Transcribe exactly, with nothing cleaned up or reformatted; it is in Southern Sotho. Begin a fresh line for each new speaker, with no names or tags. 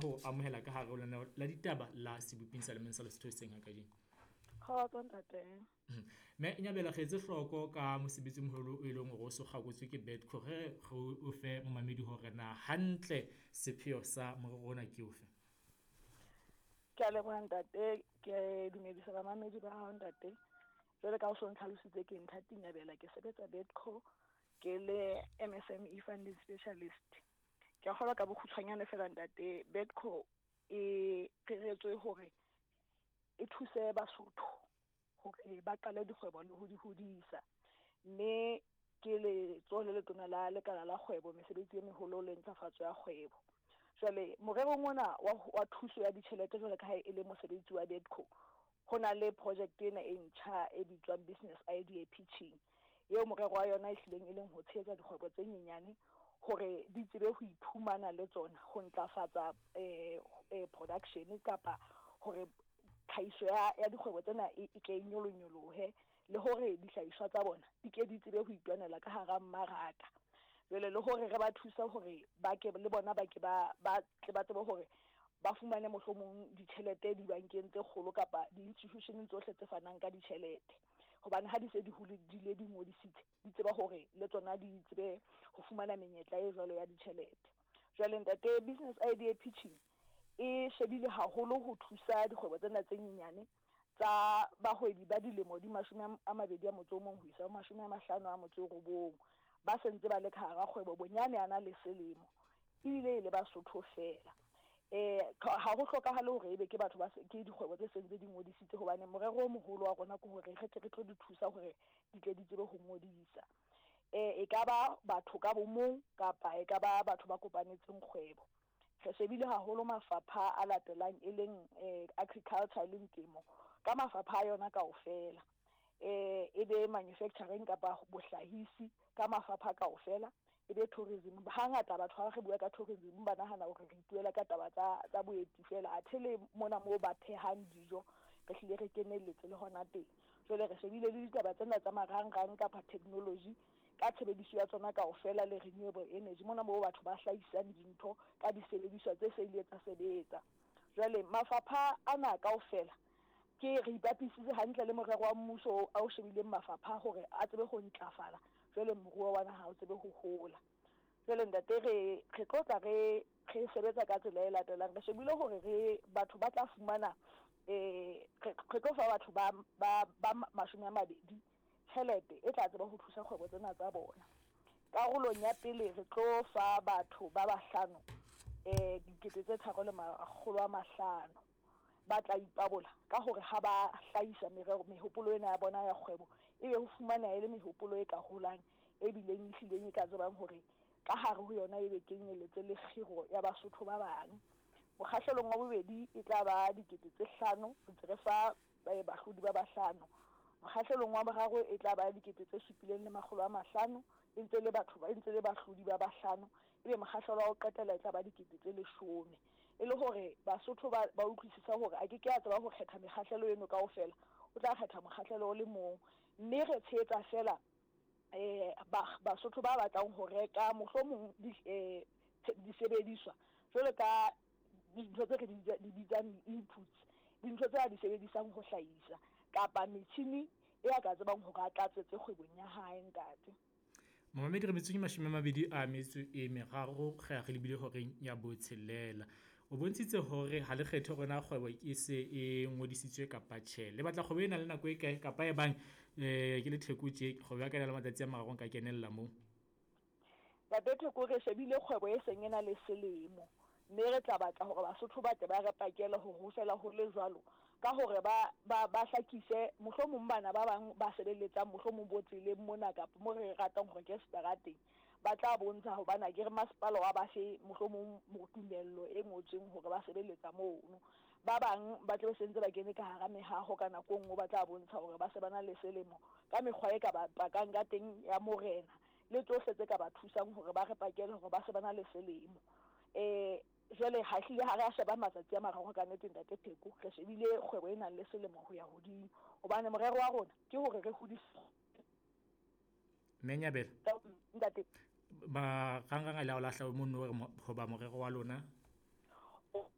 Ho amohela ka hare ho lenaneo la ditaba la seboping sa lemeng sa Lesotho hoseng ha kajeno.
Kgotso ntate.
Mme Nyabela re etse hloko ka mosebetsi o moholo, e leng hore o so kgakotswe ke Bedco. Re re o fe momamedi hore na hantle sepheo sa morero ona ke ofe?
Ke a leboha ntate, ke dumedisa bamamedi ba hao ntate. Jwale ka o so ntlhalositse ke Nthati Nyabela, ke sebetsa Bedco ke le M S M E funding specialist. Ke a kgolwa ka bokgutshwanyane fela ntate, Bedco e reretswe hore e thuse Basotho hore ba qale dikgwebo le ho di hodisa. Mme ke letsoho le letona la lekala la kgwebo, mesebetsi e meholo le ntlafatso ya kgwebo. Jwale morerong ona wa, wa thuso ya ditjhelete jwale ka ha e le mosebetsi wa Bedco, ho na le project ena e ntjha e bitswang Business Idea Pitching, eo morero wa yona e hlileng e leng ho tshehetsa dikgwebo tse nyenyane hore di tsebe ho iphumana le tsona, ho ntlafatsa eh, eh, production kapa hore tlhahiso ya, ya dikgwebo tsena e, e ke e nyolonyolohe, le hore dihlahiswa tsa bona di ke di tsebe ho itwanela ka hara mmaraka. Jwale le hore re ba thusa hore ba ke le bona ba ke ba, ba tle ba tsebe hore ba fumane mohlomong ditjhelete dibankeng tse kgolo kapa di-institution tsohle tse fanang ka ditjhelete. Hobane ha di se di hole, di le di ngodisitse, di tseba hore le tsona di tsebe ho fumana menyetla e jwalo ya ditjhelete. Jwale ntate, Business Idea Pitching e shebile haholo ho thusa dikgwebo tsena tse nyenyane tsa bahwebi ba dilemo di mashome a mabedi a motso o mong ho isa ho mashome a mahlano a motso o robong, ba sentse ba le ka hara kgwebo bonyane a na le selemo, ebile e le Basotho fela. Eh, ha ho hlokahale hore ebe ke batho ba se, ke dikgwebo tse sentse di ngodisitse, hobane morero o moholo wa rona ke hore re tle re tlo di thusa hore di tle di tsebe ho ngodisa. Eh, e ka ba batho ka bomong kapa e ka ba batho ba kopanetseng kgwebo. Re shebile haholo mafapha a latelang e leng, eh, agriculture e leng temo, ka mafapha a yona kaofela. Eh, e be manufacturing kapa bohlahisi ka mafapha kaofela, e be tourism. Hangata batho ha re bua ka tourism ba nahana hore re ituela ka taba tsa, tsa boeti fela, athe le mona moo ba phehang dijo re hlile re kenelletse le hona teng. Jwale re shebile le ditaba tsena tsa marangrang kapa technology ka tshebediso ya tsona kaofela le renewable energy, mona moo batho ba hlahisang dintho ka disebediswa tse se ile tsa sebetsa. Jwale mafapha ana kaofela ke re ipapisitse hantle le morero wa mmuso a o shebileng mafapha hore a tsebe ho ntlafala, jwale moruo wa naha o tsebe ho hola. Jwale ntate, re, re tlo tla re, re sebetsa ka tsela e latelang. Re shebile hore re batho ba tla fumana, eh, re, re tlo fa batho ba, ba, ba mashome a mabedi tjhelete e tla tseba ho thusa kgwebo tsena tsa bona. Karolong ya pele re tlo fa batho ba bahlano, eh, dikete tse tharo le makgolo a mahlano ba tla ipabola ka hore ha ba hlahisa merero, mehopolo ena ya bona ya kgwebo, ebe ho fumaneha e le mehopolo e ka holang, e bileng e hlileng e ka tsebang hore ka hare ho yona ebe kenyelletse le kgiro ya Basotho ba bang. Mokgahlelong wa bobedi e tla ba dikete tse hlano, re ntse re fa bahlodi ba bahlano. Mokgahlelong wa boraro e tla ba dikete tse supileng le makgolo a mahlano, e ntse le batho ba, e ntse le bahlodi ba bahlano. Ebe mokgahlelo wa ho qetela e tla ba dikete tse leshome. E le hore Basotho ba, ba utlwisisa hore a ke ke a tseba ho kgetha mekgahlelo eno kaofela, o tla kgetha mokgahlelo o le mong. Mme re tshehetsa fela, eh, ba, Basotho ba batlang ho reka mohlomong di, eh, disebediswa jwalo ka dintho tse re di bitsa, di bitsang di-inputs, dintho tse a di sebedisang ho hlahisa kapa metjhini e a ka tsebang hore a tlatsetse kgwebong ya hae ntate.
Momamedi, re metsotso ke mashome a mabedi a metso e meraro, re a re lebile horeng ya botshelela. O bontshitse hore ha le kgethe hore na kgwebo e se e ngodisitswe kapa tjhe. Le batla kgwebo e nang le nako e kae kapa e bang, eh, ke le Theko tje, kgwebo ya ka e na le matsatsi a mararo nka kenella moo?
Ntate Theko, re shebile kgwebo e seng e na le selemo, mme re tla batla hore Basotho ba tle ba re pakele hore ho fela ho le jwalo, ka hore ba, ba, ba hlakise mohlomong bana ba bang ba sebeletsang mohlomong bo tseleng mona kapa mo re ratang hore ke seterateng, ba tla bontsha hobane akere masepala wa ba fe mohlomong tumello e ngotsweng hore ba sebeletsa mono. Ba bang ba tla be sentse ba kene ka hara mehaho ka nako e nngwe, ba tla bontsha hore ba se ba na le selemo ka mekgwa e ka ba pakang ka teng ya morena le tsohle tse ka ba thusang hore ba re pakele hore ba se ba na le selemo. Eh, jwale ha hlile ha re a sheba matsatsi a mararo ka nnete ntate Pheko, re shebile kgwebo e nang le selemo ho ya hodimo, hobane morero wa rona ke hore re hodise.
Mme Nyabela.
Ntate.
Marangrang a le a o lahla mono hore mo-, hoba morero wa lona?